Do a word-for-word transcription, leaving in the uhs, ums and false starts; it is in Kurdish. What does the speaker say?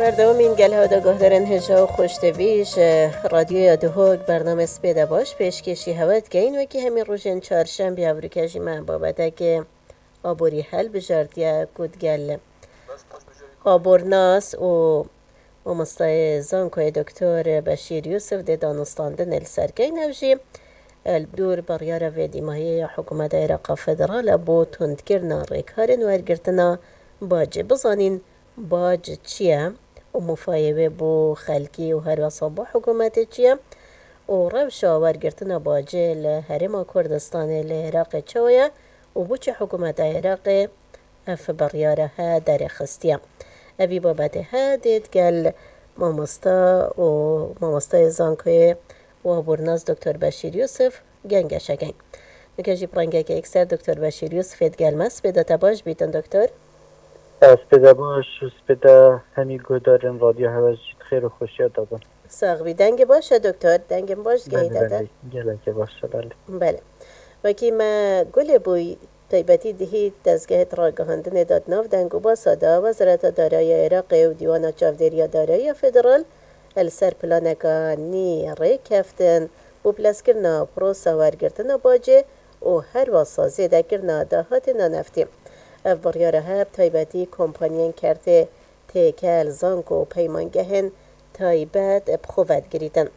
Berdewamîn gel hewda guhdarên hêja û xweştevî ji Radyoya Duhok bername Spêde Baş pêşkêşî hewe dikeyin. Wekî hemî rojên çarşembî evrûke jî me babeteke aborî helbijartiye ku digel abornas û mamostayê zankoyê Doktor Beşîr Yusuf dê danûstandinê li ser keyin. Ev jî li dûr biryara vê dîmahiyê ya Hikûmeta Êraqa Federal e bo tundkirina rêkarên wergirtina bacê. Bizanîn bac çi ye û mufayê wê bo xelkî û herwesa bo hikûmetê çi ye û rewşa wergirtina bacê li Herêma Kurdistanê li Iraqê çawa ye û bo çi hikûmeta Iraqê ev biryara he derêxistiye. Evî babetê he dê digel mamosta û mamostayê zankoyê û abornas Doktor Beşîr Yusuf gengeşe keyin. Nuke jî bi rengeke yekser Doktor Beşîr Yusufê digel me. Spêda te baş bîtin Doktor. Spêda baş û spêda hemî guhdarên radyo hewe jî di xêr û xweşiya de bin. Sax bî. Dengê baş e Doktor. Dengên baş digehîte te. Belê, gelekê baş e, belê. Belê. Wekî me gulê bûy taybetî dihît dezgehê ragihandinê de di nav deng û basa de Wezareta Darayiya Iraqê û Dîwana Çavdêriya Darayiya Federal li ser planeka nî rêkeftin bo bilezkirina prosa wergirtina bacê û herwesa zêdekirina dahatê naneftî. Ev biryara he bi taybetî kompaniyên kertê têkel, zanko û peymangehên taybet bi xwe vedigirîtin.